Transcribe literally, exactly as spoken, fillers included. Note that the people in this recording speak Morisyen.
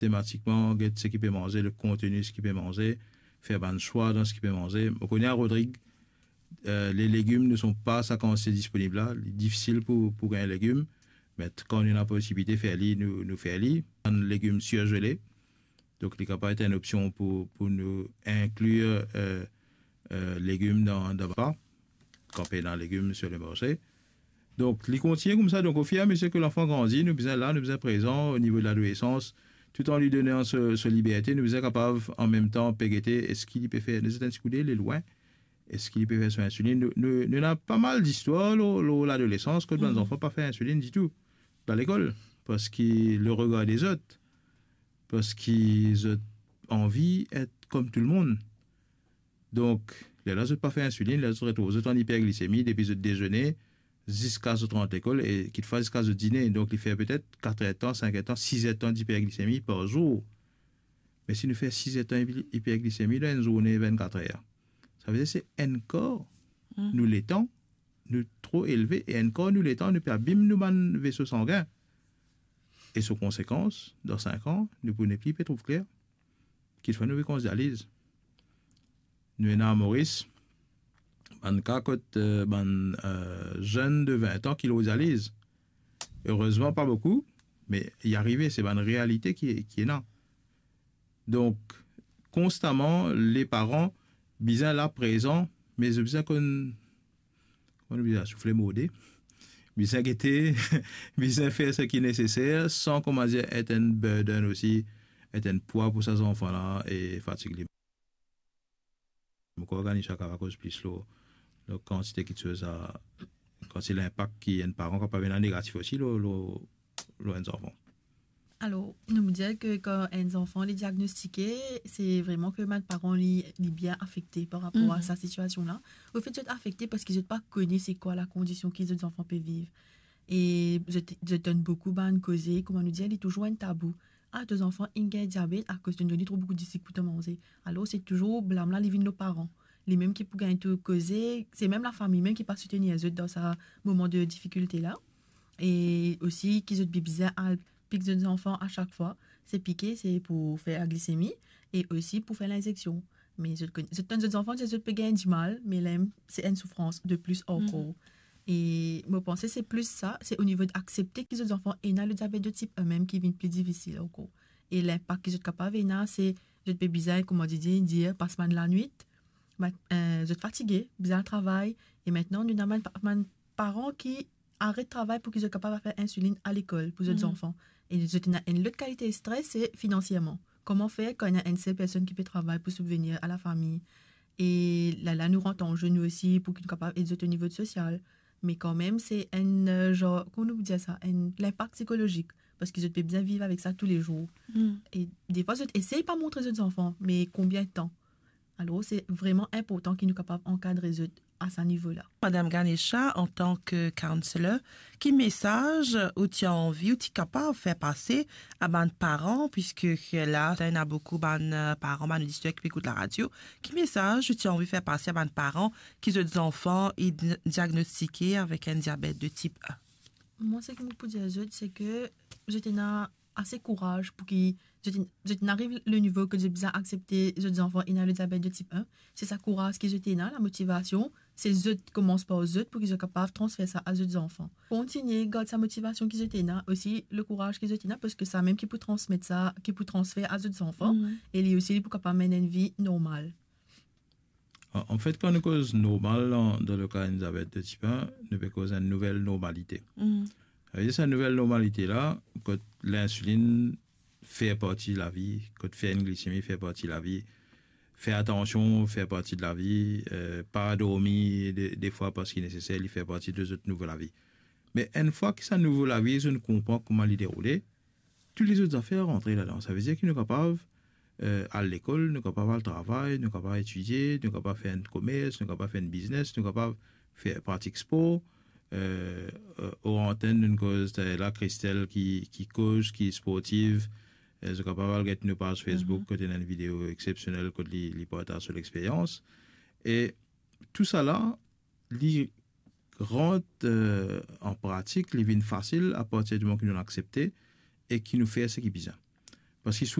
sistematikman get seki pe manze, le konteni seki pe manze, fer bann swa dan seki pe manze. Mo kone a Rodrig, eh, le legim ne son pa sa kantite disponib la, li difisil pou, pou gagn legim, me kan nou ena posibilite fer li, nou, nou fer li. Bann legim sirzele, donk li kapav et enn opsion pou, pou nou inklir, eh, eh, legim dan, dan repa, kan pena legim sir le marse. Donk, li kontigne koumsa. Donk, ofiramezie ke lanfan grandi, nou bizin la, nou bizin prezan o nivo de ladolesans, tou an li donan so, so liberte, nou bizin kapav, an mem tan, pe gete, eski li pe fer, nou zet enn ti koude, li lwin, eski li pe fer so insilinn. Nou, nou, nou ena pa mal zistwar lor, lor ladolesans, kot bann zanfan pa fer insilinn ditou, dan lekol, parski le regar de zot, parski zot anvi et kom tou lemonn. Donk, lerla zot pa fer insilinn, lerla zot retrouv zot an iperglisemi depi zot dezene ziska zot rant lekol e kitfwa ziska zot dine. Donk, li fer petet kat er tan, sink er tan, sis er tan diperglisemi par zour. Me si nou fer sis er tan iper-, iperglisemi dan enn zourne vennkat er, savedir se enn kar nou letan, nou tro elve, e enn kar nou letan, nou pe abim nou bann veso sangin. E so konsekans, dan sink an, nou pou nepli pe trouv kler. Kitfwa nou pe koz dializ. Nou ena Moris, bann ka kot, eh, bann, eh, zenn de vin an ki lor dializ. Erezman, pa boukou, me li arive, se bann realite ki, ki ena. Donk, konstaman, leparan bizin la prezan, me zot bizin konn, konn bizin soufle mode, bizin gete, bizin fer seki neseser, san, kouma dir, et enn burden osi, et enn pwa pou sa zanfan la e fatig li. Mo krwar Ganisha kapav koz plis lor, lor kantite kiksoz a, kantite linpak ki enn paran kapav ena negatif osi lor, lor, lor enn zanfan. Alor, nou dir ke kan enn zanfan li diagnostike, se vreman ke bann paran li, li bien afekte par rapor a sa sitiasion la. Anfet, zot afekte parski zot pa kone se kwa lakondision ki zot zanfan pe viv. E zot, zot tann boukou bann koze, kouma nou dir, li touzour enn tabou. "Ah, to zanfan inn gagn diabet akoz to donn li tro boukou disik pou to manze." Alor, se touzour blam la, li vinn lor paran. Li mem ki pou gagn tou koze, se mem lafami mem ki pa soutenir zot dan sa moman de difikilte la. E osi ki zot bizin al pik zot zanfan a sak fwa, se pike, se pou fer glisemi e osi pou fer linzeksion. Me zot konn, zot tann zot zanfan dir zot pe gagn dimal, me la mem se enn soufrans de plis ankor. E mo panse se plis sa, se o nivo de aksepte ki zot zanfan ena le diabet de tip en mem ki vinn pli difisil ankor. E linpak ki zot kapav ena, se zot pe bizin, kouma dir, dir, pas bann lanwit, mat-, eh, zot fatige, bizin al travay, e mintnan nou ena bann pa-, bann paran ki aret travay pou ki zot kapav al fer insilinn a lekol pou zot zanfan. E zot ena enn lot kalite stres, se finansierman. Kouma fer kan ena enn sel personn ki pe travay pou sibvenir a lafami? E la, la nou rant an ze nou osi pou ki nou kapav ed zot o nivo de sosial. Me kanmem, se enn, eh, zanr, kouma nou pou dir sa, enn linpak psikolozik, parski zot pe bizin viv avek sa toulezour. E defwa, zot esey pa montre zot zanfan, me konbien tan? Alor, se vreman inportan ki nou kapav ankadre zot a sa nivo la. Madam Ganesha, antan ke counselor, ki mesaz ou ti anvi, ou ti kapav fer pase a bann paran, piske la, ena boukou bann, eh, paran, bann oditer ki pe ekout laradio, ki mesaz ou ti anvi fer pase a bann paran ki zot zanfan inn diagnostike avek enn diabet de tip en? Mwa, seki mo pou dir zot, se ke zot ena ase kouraz pou ki zot inn, zot inn ariv le nivo ke zot bizin aksepte zot zanfan ena le diabet de tip en. Se sa kouraz ki zot ena, lamotivasion, se zot, komans par zot pou ki zot kapav transfer sa a zot zanfan. Kontigne gard sa motivasion ki zot ena, osi le kouraz ki zot ena, parski samem ki pou transmet sa, ki pou transfer a zot zanfan, e li osi, li pou kapav mennen enn vi normal. An, anfet, kan nou koz normal dan, dan le ka enn diabet de tip en, nou pe koz enn nouvel normalite. Savedir sa nouvel normalite la, kot linsilinn fer parti lavi, kot fer enn glisemi fer parti lavi, fer atansion fer parti de lavi, eh, pa dormi de, defwa parski neseser, li fer parti de zot nouvo lavi. Me enn fwa ki sa nouvo lavi, zot konpran kouma li deroule, tou lezot zafer rantre ladan. Savedir ki nou kapav, eh, al lekol, nou kapav al travay, nou kapav etidie, nou kapav fer enn komers, nou kapav fer enn biznes, nou kapav fer, pratik spor. Eh, eh, or antenn, nou koz, eh, la Christelle ki, ki koz, ki sportiv. Eh, zot kapav al get nou paz Facebook, kot ena enn video exepsionel, kot li, li partaz so lexperyans. E tousala, li rant, eh, an pratik, li vinn fasil apartir di moman ki nou aksepte e ki nou fer seki bizin. Parski